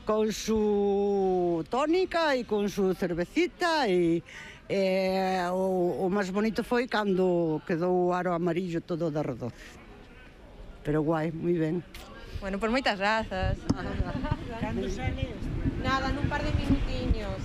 con su tónica e con su cervecita e o máis bonito foi cando quedou o aro amarillo todo de arredor. Pero guai, moi ben. Bueno, por moitas grazas. Cando sale? Nada, nun par de minutiños.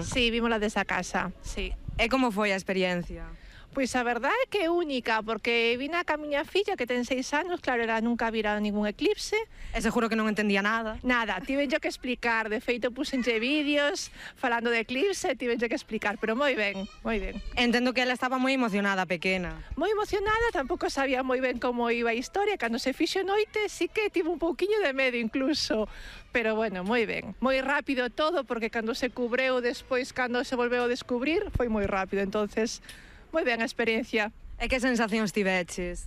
Sí, vimos desde a casa, sí. E como foi a experiencia? Pois a verdade é que é única, porque vina ca miña filla que ten 6 anos, claro, ela nunca vira ningún eclipse. E seguro que non entendía nada. Nada, tiven yo que explicar, de feito puxenlle vídeos falando de eclipse, tiven yo que explicar, pero moi ben, moi ben. Entendo que ela estaba moi emocionada, pequena. Moi emocionada, tampouco sabía moi ben como iba a historia, cando se fixo noite sí que tive un pouquiño de medo incluso, pero bueno, moi ben, moi rápido todo, porque cando se cubreu despois, cando se volveu a descubrir, foi moi rápido, entonces moi ben a experiencia. E que sensacións tiveches?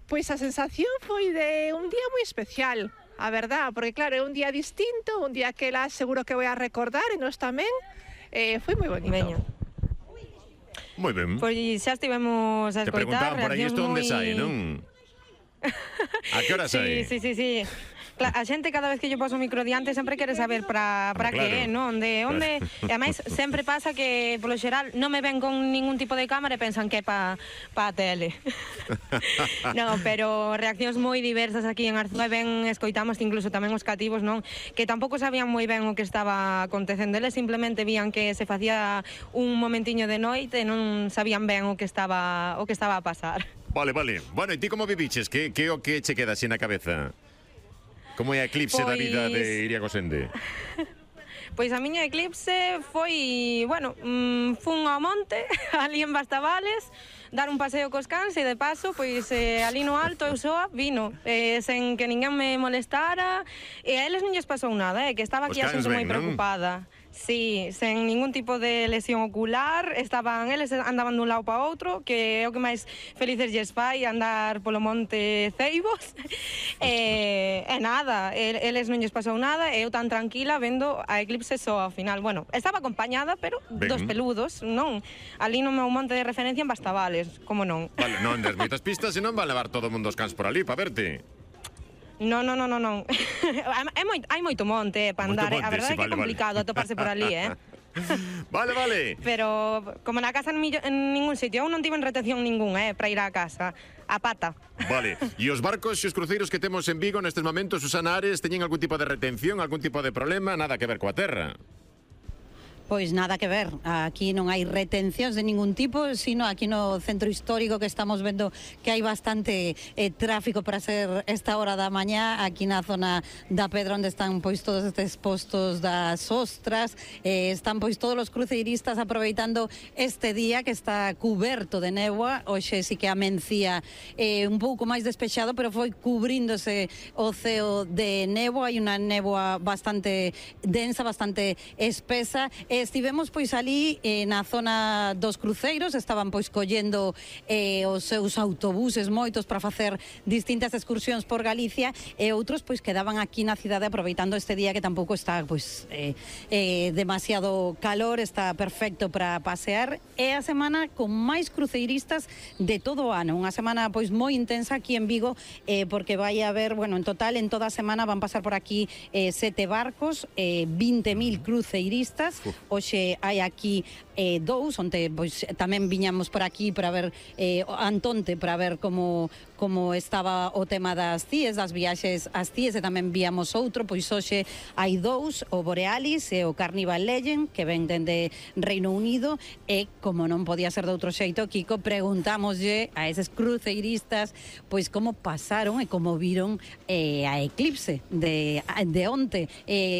Pois a sensación foi de un día moi especial, a verdad, porque claro, é un día distinto, un día que ela seguro que vai a recordar e nós tamén, foi moi bonito. Veño. Moi ben. Pois xa estivemos a Te escoitar preguntaban por aí isto onde moi... sai, non? A que hora sai? Sí. A xente cada vez que lle poso o micro diante sempre quere saber para que é, non? Onde... E ademais sempre pasa que polo xeral non me ven con ningún tipo de cámara e pensan que é pa a tele. Non, pero reaccións moi diversas aquí en Arzúa, ben escoitamos que incluso tamén os cativos, non? Que tampouco sabían moi ben o que estaba acontecendo, eles simplemente vían que se facía un momentiño de noite e non sabían ben o que estaba a pasar. Vale. Bueno, e ti como viviches? Que o que che queda así na cabeza? Como é a eclipse da vida de Iria Gosende? Pois a miña eclipse foi, bueno, fun ao monte, ali en Bastavales, dar un paseo cos cans e de paso, pois ali no alto eu soa vino, sen que ninguén me molestara, e a eles non lles pasou nada, que estaba aquí a xente moi preocupada. Sí, sen ningún tipo de lesión ocular, eles andaban dun lado para outro, que é o que máis felices lles fai, andar polo monte Ceibos, e nada, eles non lles pasou nada, e eu tan tranquila vendo a eclipse só ao final. Bueno, estaba acompañada, pero dos peludos, non? Ali no meu monte de referencia en Bastavales, como non? Vale, non des moitas pistas e non van levar todo o mundo os cans por ali para verte. Non. Hai moito monte para andar, a verdade é que é complicado atoparse por ali, Vale. Pero como na casa en ningún sitio, eu non tiven retención ningún, para ir á casa, a pata. Vale, e os barcos e os cruceiros que temos en Vigo nestes momentos, Susana Ares, teñen algún tipo de retención, algún tipo de problema, nada que ver coa terra? Pois nada que ver, aquí non hai retencións de ningún tipo, sino aquí no centro histórico que estamos vendo que hai bastante tráfico para ser esta hora da mañá, aquí na zona da Pedra onde están pois todos estes postos das ostras, están pois todos os cruceiristas aproveitando este día que está cuberto de néboa, hoxe sí que amencía un pouco máis despexado, pero foi cubríndose o ceo de néboa, hai unha néboa bastante densa, bastante espesa. Estivemos pois ali na zona dos cruceiros, estaban pois collendo os seus autobuses moitos para facer distintas excursións por Galicia e outros pois quedaban aquí na cidade aproveitando este día que tampouco está pois demasiado calor, está perfecto para pasear. É a semana con máis cruceiristas de todo o ano, unha semana pois moi intensa aquí en Vigo, porque vai haber, bueno, en total en toda a semana van pasar por aquí 7 barcos, 20.000 cruceiristas. Hoxe hai aquí dous, onde pois tamén viñamos por aquí para ver Antonte, para ver como estaba o tema das CIES, das viaxes ás CIES, e tamén víamos outro, pois hoxe hai dous, o Borealis e o Carnival Legend, que ven dende Reino Unido, e como non podía ser de outro xeito, Kiko, preguntámoslle a eses cruceiristas pois como pasaron e como viron a eclipse de onte.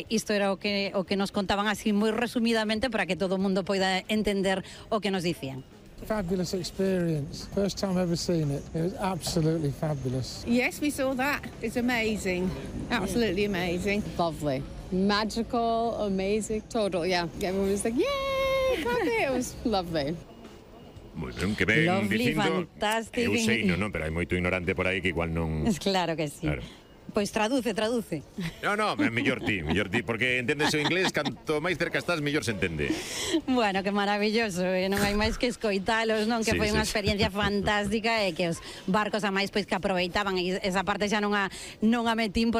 Isto era o que nos contaban así moi resumidamente para que todo o mundo poida entender o que nos dicían. Fabulous experience. First time ever seen it. It was absolutely fabulous. Yes, we saw that. It's amazing. Absolutely amazing. Lovely. Magical, amazing, total, yeah. Everyone was like, yay, it was lovely. Moi ben, que ben Lovely, dicindo. fantástico. Eu sei, non, pero hai moito ignorante por aí que igual non... Claro que sí. Claro. Pois traduce. No, mellor ti, porque entendes o inglés, canto máis cerca estás, mellor se entende. Bueno, que maravilloso, non hai máis que escoitalos, non? Que foi unha experiencia fantástica e que os barcos a máis pois que aproveitaban, e esa parte xa non a metín